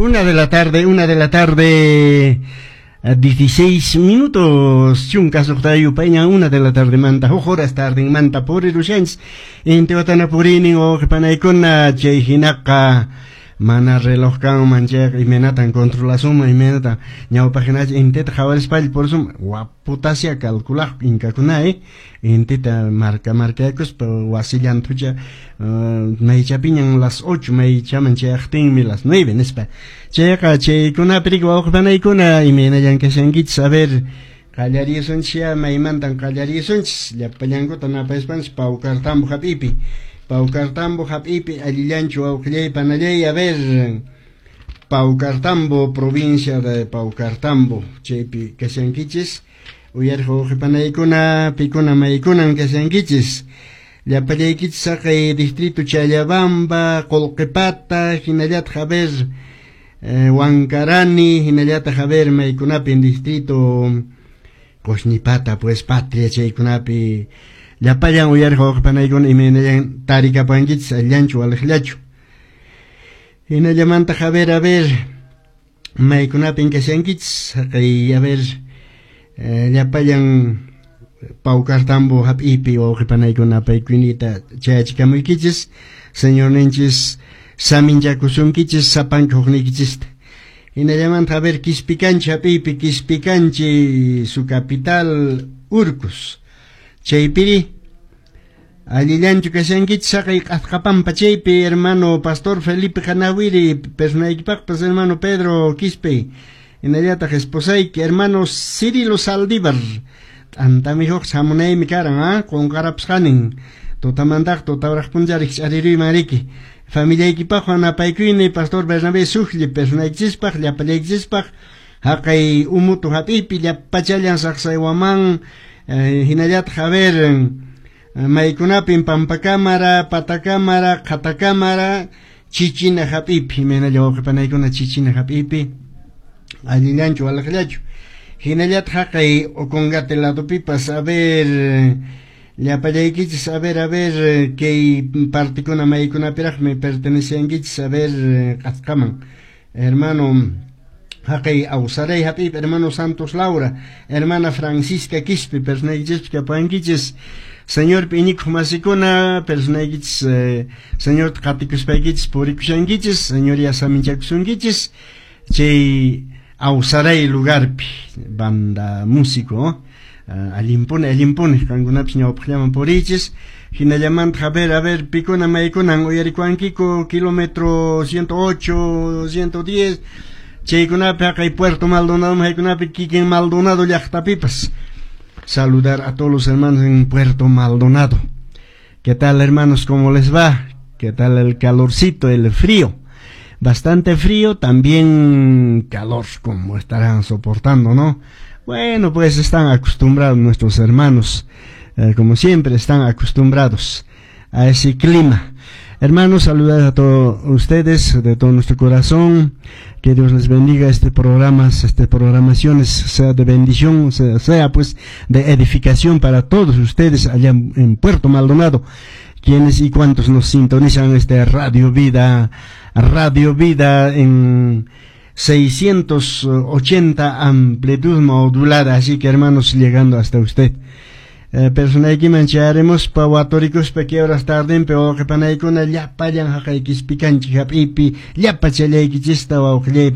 1 de la tarde, 1 de la tarde, 16 minutos, chunka suqtayuq payña 1 de la tarde manta, huk horas tarde manta purirushanchis, intiwatana purinin wawqipanaykuna, chay hinaqa mana reloj kanman chayqa imaynatan controlasunman, imaynatan ñawpaq hinacha intita qhawarispalla purisunman, waputasya calculaq inkakuna, intita marka markaykuspa wasillanthucha maychapiñan las 8 maychaman chayaqtinmi las 9 nispa. Chayqa chaykunapi riki wawqipanaykuna, imaynallan kashankichis? A ver, qallarisunchis, maymantan qallarisunchis? Llapallankuta napayaspanchis Paucartambo hap'ipi. Paucartambo hap'ipi allillanchu wawqillay panallay? A ver, Paucartambo, provincia de Paucartambo, chaypi kashankichis uyariq wawqipanaykuna, pikuna maykunan kashankichis? Llapallaykichis saqay distrito Challabamba, Qolqipata, hinallataq, a ver, Huancarani, hinallataq, a ver, maykunapi distrito Qosnipata, pues Patria, chaykunapi llapallan uyariq wawqipanaykuna, imaynallan tarikapankichis, allinchu waliqllachu? Hinallamantaq, a ver, a ver, maykunapin kashankichis? Haqay, a ver, llapallan Paucartambo hap'ipi wawqipanaykuna apaykuynita chayachikamuykichis. Señorninchis saminchakusunkichis sapanka hukniykichista. Hinallamanta, a ver, Quispicanchi hap'ipi, Quispicanchi, su capital Urcos, chaypiri allillanchu kashankichis? Saqay Q'asqapampa chaypi hermano pastor Felipe Hanawiri, personaykipaqpas hermano Pedro Quispe, hinallataq esposayki, hermano Cirilo Saldívar, t'antamihuq hamunaymi karan, qunqarapasqanin tutamantaq tutawaraq puncharik ch'ariruyman riki. Familiaykipaqwan napaykuyni, pastor Bernabé Sujli, personaykichispaq, llapallaykichispaq haqay Umutu hap'ipi llapachallan Saqsaywaman, hinallataq, a ver, maykunapin Pampakámara, Patakámara, Qhatakámara, Chichina hap'ipi, imaynalla wawqipanaykuna Chichina hap'ipi, allillanchu waliqllachu? Hinallataq haqay Ocongate ladopipas, a ver, llapallaykichis, a ver, a ver, kay partikuna maykunapiraqmi perteneciankichis? A ver, Q'asqaman hermano haqay Awsaray hap'ipi hermano Santos Laura, hermana Francisca Quispe, personaykichispi kapankichis. Señorpi iñikuq masikuna, personaykichis, Señorta qatikuspaykichis purikushankichis, Señor ya saminchakusunkichis chay Awsaray lugarpi banda músico, allinpuni, allinpuni qankunapis ñawpaqllaman puriychis. Hinallamanta, a ver, pikuna maykunan uyarikuankiku kilómetro 108, 110 chaykunapi, haqay Puerto Maldonado maykunapi, kikin Maldonado llaqtapipas? Saludar a todos los hermanos en Puerto Maldonado. ¿Qué tal, hermanos? ¿Cómo les va? ¿Qué tal el calorcito, el frío? Bastante frío, también calor, como estarán soportando, ¿no? Bueno, pues están acostumbrados nuestros hermanos, como siempre, están acostumbrados a ese clima. Hermanos, saludar a todos ustedes de todo nuestro corazón. Que Dios les bendiga este programa, este programaciones sea de bendición, sea pues de edificación para todos ustedes allá en Puerto Maldonado, quienes y cuantos nos sintonizan este Radio Vida, Radio Vida en 680 amplitud modulada. Así que, hermanos, llegando hasta usted. Personaykiman chayarimuspa waturikuspa que horas tardenpi wawqipanaykuna llapallan haqay Quispicanchi hap'ipi llapachallaykichista wawqillay.